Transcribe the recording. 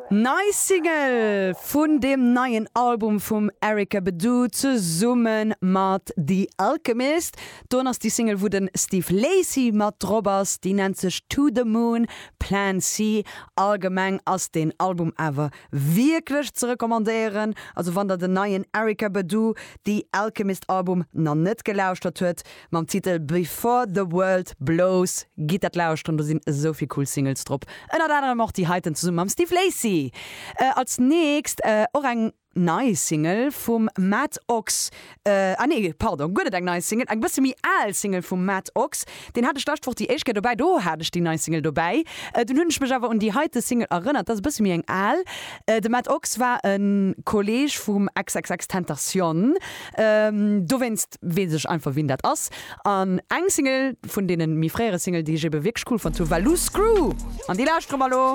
Nei Single vun deem neien Album vum Erykah Badu zesumme mat The Alchemist. Don ass déi Single wou den Steve Lacy mat drop ass, déi nennt sech To The Moon, Plan C. Allgemeng ass deen Album awer wierklech ze recommandéieren. Also wann der den neien Erykah Badu, The Alchemist Album na net gelauschtert huet, Mam Titel Before the World Blows. Gitt dat lauschteren, do sinn esou vill cool Singles drop, ënnert anerem och déi heiten zesumme mam Steve Lacy. Als nächst och eng nei Single vum Matt Ox, ah nee, pardon, guer net eng nei Single, eng bësse méi al Single vum Matt Ox. Deen hat ech d'lescht Woch déi éischt Kéier dobäi, do hat ech déi nei Single dobäi. Dunn hunn ech mech awer un déi heite Single erënnert, dat ass e bësse méi eng al. De Matt Ox war e Kolleeg vum XXXTentacion, dowéinst weess ech einfach wien dat ass. An eng Single vun deenen méi fréiere Single déi ech ebe wierklech cool fonnt hu war Loose Screw an déi lauschtere mer elo.